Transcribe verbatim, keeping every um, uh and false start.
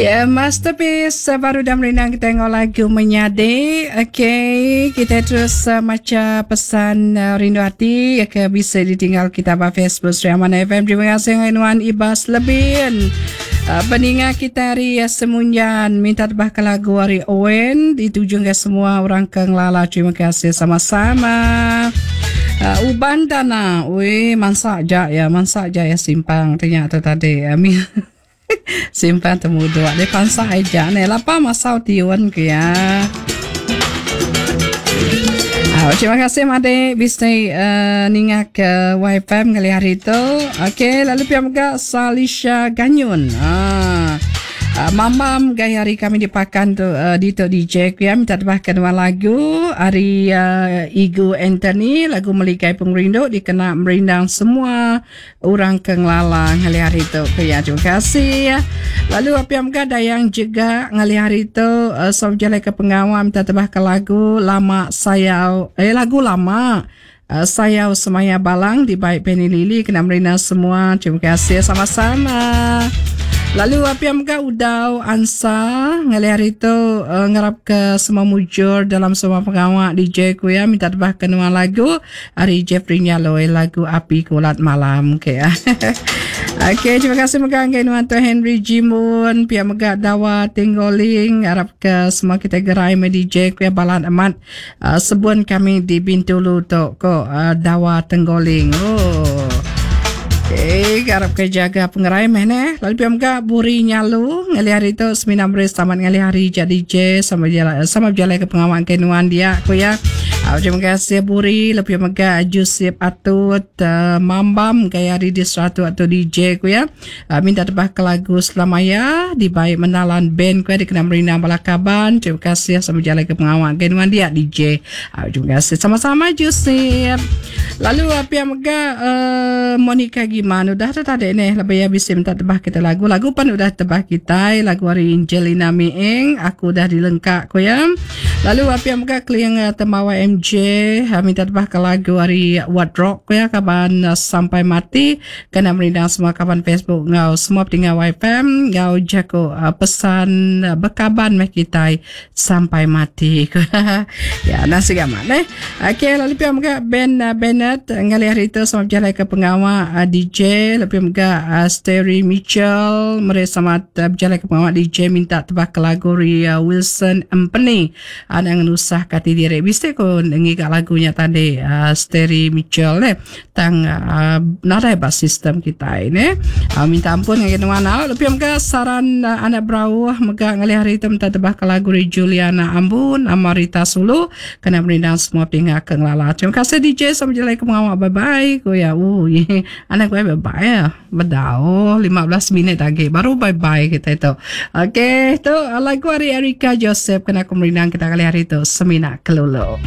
Ya, Masterpiece eh, baru dah merindang kita tengok lagu menyadi. Okey, kita terus uh, maca pesan uh, rindu hati ya, ke bisa ditinggal kita ba Facebook Sri Aman F M. Terima kasih Nuan Ibas Lebin. Uh, peninga kita hari uh, Semunyan minta tebah ke lagu hari Owen dituju ke semua orang ke ngelala. Terima kasih sama-sama. Uh, uban tanah, weh mansak jak ya, mansak jak ya simpang ternyata tadi. Amin. Simpan temu dua dia pansak aja ni lapa masau tiun ke ya. Ah, terima kasih Made bisa uh, ninga ke Y F M kali hari itu. Okey, lalu pihak juga Salisha Ganyun. Ah. Uh, mamam gaya hari kami dipakan tu uh, di tu D J ya minta tebahkan dua lagu hari uh, Igu Anthony lagu Meligai Pengerindu dikena merindang semua orang ke ngelalang hari hari tu ya terima kasih. Lalu apa yang ada yang juga ngali hari tu uh, som jalan ke pengawal minta tebahkan lagu lama sayau eh lagu lama Uh, sayau Semaya Balang di baik Penny Lily kena merindang semua. Terima kasih sama-sama. Lalu apa yang megah udau ansa ngali hari tu uh, ngarap ke semua mujur dalam semua pengawak D J ku ya minta tebah kenua lagu hari Jeffrey Nyaloi lagu Api Kulat Malam ke ya. Okey, terima kasih megah ke nuan tu Henry Jimun pihak megah Dawa Tinggoling harap ke semua kita gerai me D J ku ya balan amat uh, sebuan kami di Bintulu tu ko uh, Dawa Tenggoling. Oh. Eh, harap ke jaga pengerai meh ne. Lalu piam ga buri nyalu ngali hari tu semina beri selamat ngali hari jadi J sama jalan sama berjalan ke pengawal kenuan dia aku ya. Uh, terima kasih buri lebih mega Jusip Atut uh, Mambam gaya hari di seratu atau D J ku ya. Uh, minta tebah ke lagu Selamaya di baik menalan band ku ya dikena merindang balakaban. Terima kasih sama jalan ke pengawal kenuan dia D J. Uh, terima kasih sama-sama Jusip. Lalu apa yang mega uh, Monica Giman udah tadi ni lebih ya bisa minta tebah kita lagu lagu pan udah tebah kita lagu hari Angelina Miing aku dah dilengkap ku ya. Lalu apa yang mega keliang Temawa M J minta tebah ke lagu hari What Rock ku ya kaban sampai mati kena merindang semua kaban Facebook ngau semua pendengar Y F M ngau jago pesan berkaban meh kita sampai mati. Ya nasi gamak ne. Okey lalu pihak mega Ben Bennett ngali hari itu sama berjalan ke pengawal uh, D J lebih mega uh, Sterry Mitchell mereka sama uh, berjalan ke pengawal D J minta tebak ke lagu Ria Wilson Empeni anak ngenusah kati diri bisa ko ngigak lagunya tadi uh, Sterry Mitchell ne tang uh, nadai bas sistem kita ini uh, minta ampun dengan mana lebih mega saran uh, anak berauh mega ngali hari itu minta tebak ke lagu Juliana Ambun Amarita Sulu kena merindang semua pihak ke ngelala. Terima kasih D J sama berjalan ke pengawal bye bye ko ya. Uh, anak gue bye bye ya. Bedau lima belas minit lagi baru bye bye kita itu. Okey, tu lagu hari Erika Joseph kena aku merindang kita kali hari itu Semina Kelulu.